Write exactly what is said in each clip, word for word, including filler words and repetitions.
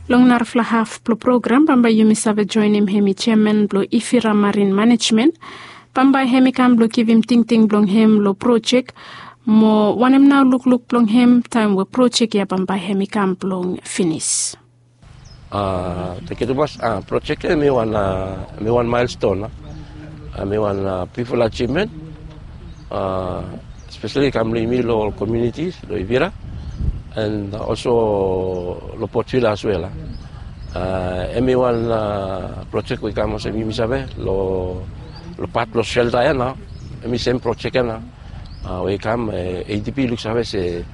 Long narafala haf blong program bambae yumi save joenem hem i jeaman blong Ifira Marin Manejmen. Bambae hem i kam blong givim tingting blong hem long projek, mo wanem nao lukluk blong hem taem we projek ya bambae hem i kam blong finis. Thank you tumas. Projek ya hem i wan, hem i wan milestone. Hem i wan bigfala achievement, especially kam long yumi long ol communities long Ifira, and also long Port Vila as well. Hem i wan projek we i kam olsem yumi save long, long pat blong shelter ya nao. Hem i sem projek ya nao we i kam, A D B i luksave se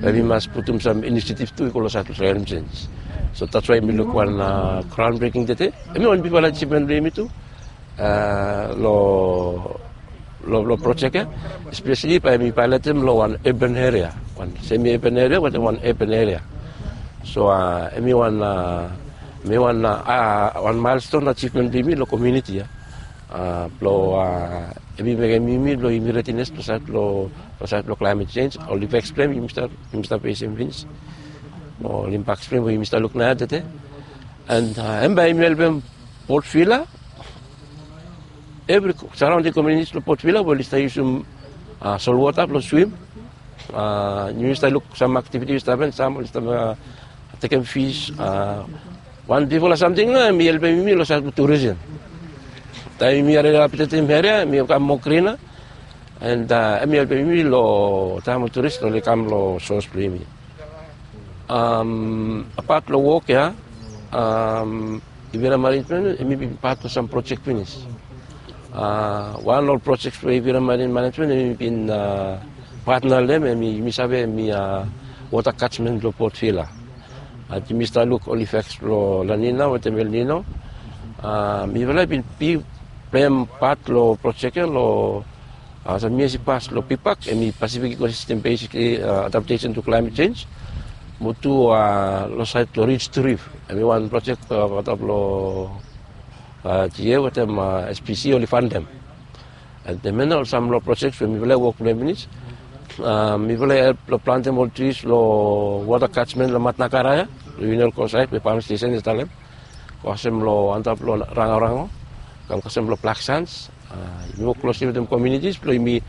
bae mi mas putum sam inisiativ tu i go long saed blong climate change. So that's why mi luk wan groundbreaking tede. Hem i wan bigfala achievement blong yumi tu long, long projek ya, especially bae mi pailetem long wan urban area, wan semi urban area wetem wan urban area. So hem i wan, hem i wan, wan milestone achievement blong yumi long community ya. Blong hem i mekem yumi blong yumi readiness long saed blong, long saed blong climate change, ol impaks blong hem yumi stap, yumi stap fesem finis. Ol impaks blong hem we yumi stap luk naoia tede. And hem bae hem i helpem Port Vila, evri surrounding communities blong Port Vila we oli stap yusum solwota blong swim. Yumi stap luk sam aktiviti we i stap hapen, sam oli stap tekem fis. Wan bigfala samting nao, hem i helpem yumi long saed blong turism. Taem yumi rehabilitetem eria, hem i kam moa grina, and hem i helpem yumi long taem we turis oli kam long sos blong yumi. Apat long wok ya, Ifira Manejmen hem i bin pat long sam projek finis. Wan long ol projek we Ifira Marin Manejmen hem i bin patna long hem, hem i, yumi save hem i wota katjmen blong Port Vila. Yumi stap luk ol impaks blong La Nina wetem El Nino. Mifala i bin big pleim pat long projek ya long, olsem yia i pas long PPAC, hem i Pacific Ecosystem Based Adaptation to Climate Change. Mo tu long saed blong Ridge to Reef, hem i wan projek antap long G A wetem S P C oli fandem. And hemia nao ol sam long projek we mifala i wok blong hem finis. Mifala i help long plantem ol tris long wota katjmen long Matnakara ya, long Union Coast saed we pam stesen i talem. Kasem long antap long Rangorango, kam kasem long Black Sands. Yumi wok klosli wetem communities blong yumi